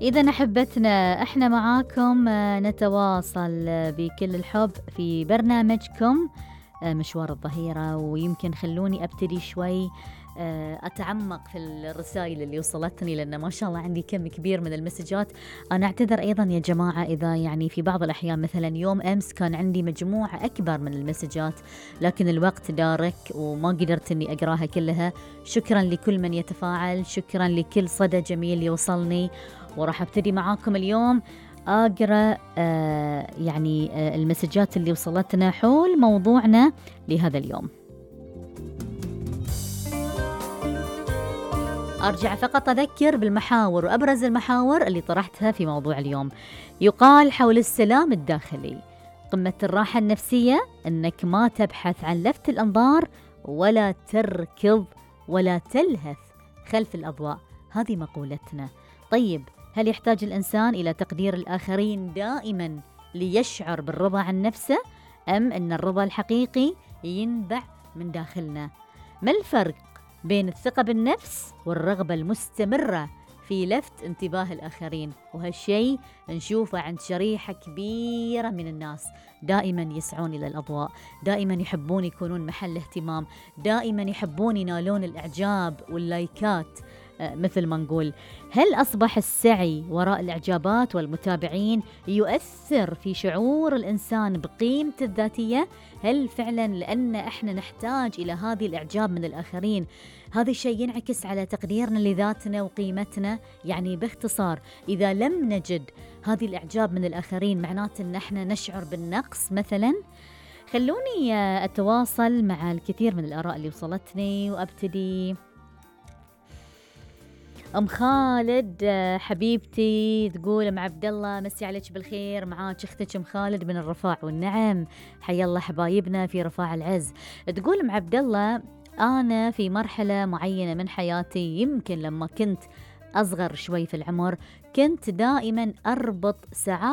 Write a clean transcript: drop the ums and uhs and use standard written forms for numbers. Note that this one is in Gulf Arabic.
إذا أحبتنا إحنا معاكم نتواصل بكل الحب في برنامجكم مشوار الظهيرة. ويمكن خلوني أبتدي شوي أتعمق في الرسائل اللي وصلتني، لأن ما شاء الله عندي كم كبير من المسجات. أنا أعتذر أيضا يا جماعة إذا يعني في بعض الأحيان مثلا يوم أمس كان عندي مجموعة أكبر من المسجات، لكن الوقت دارك وما قدرت أني أقراها كلها. شكرا لكل من يتفاعل، شكرا لكل صدى جميل يوصلني. وراح أبتدي معاكم اليوم أقرأ المسجات اللي وصلتنا حول موضوعنا لهذا اليوم. أرجع فقط أذكر بالمحاور وأبرز المحاور اللي طرحتها في موضوع اليوم. يقال حول السلام الداخلي: قمة الراحة النفسية أنك ما تبحث عن لفت الأنظار ولا تركض ولا تلهث خلف الأضواء. هذه مقولتنا. طيب، هل يحتاج الإنسان إلى تقدير الآخرين دائما ليشعر بالرضا عن نفسه، أم أن الرضا الحقيقي ينبع من داخلنا؟ ما الفرق بين الثقة بالنفس والرغبة المستمرة في لفت انتباه الآخرين؟ وهالشيء نشوفه عند شريحة كبيرة من الناس، دائما يسعون إلى الأضواء، دائما يحبون يكونون محل اهتمام، دائما يحبون ينالون الإعجاب واللايكات. مثل ما نقول، هل أصبح السعي وراء الإعجابات والمتابعين يؤثر في شعور الإنسان بقيمته الذاتية؟ هل فعلا لأن إحنا نحتاج إلى هذه الإعجاب من الآخرين هذا الشيء ينعكس على تقديرنا لذاتنا وقيمتنا؟ يعني باختصار، إذا لم نجد هذه الإعجاب من الآخرين معناته أن إحنا نشعر بالنقص مثلا. خلوني أتواصل مع الكثير من الآراء اللي وصلتني وأبتدي. أم خالد حبيبتي تقول: أم عبد الله مسي عليك بالخير، معاك أختك أم خالد من الرفاع. والنعم، حيا الله حبايبنا في رفاع العز. تقول أم عبد الله: أنا في مرحلة معينة من حياتي، يمكن لما كنت أصغر شوي في العمر، كنت دائما أربط سعادة